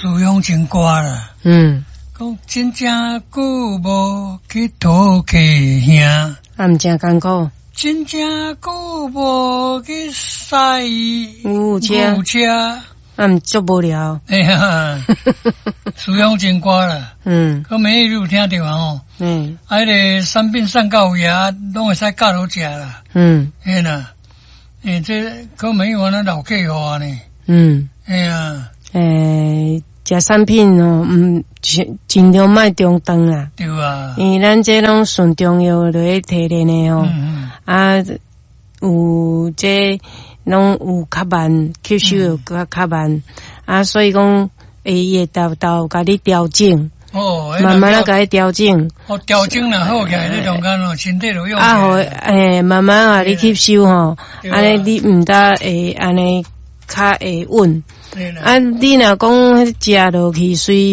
思鄉情歌啦。講真正久無去討客兄，啊，毋誠艱苦。真正久無去駛牛車，牛車，啊，毋足無聊。哎呀，思鄉情歌啦。可每你有聽著啊吼？啊，彼个產品送到位啊，攏會使教落食啦。嘿啦，欸，這可沒有按呢老客戶按呢。嘿啊。欸，食產品哦，毋盡量莫中斷啦。對啊。因為咱這攏純中藥落去提煉的吼，啊，有這攏有較慢，吸收有較較慢，啊，所以講，伊會沓沓共你調整。慢慢仔共你調整。哦，調整若好起來，你中間哦，身體就用。啊，予欸，慢慢予你吸收吼，按呢你毋但會按呢較會穩。啊，你若講彼食落去隨。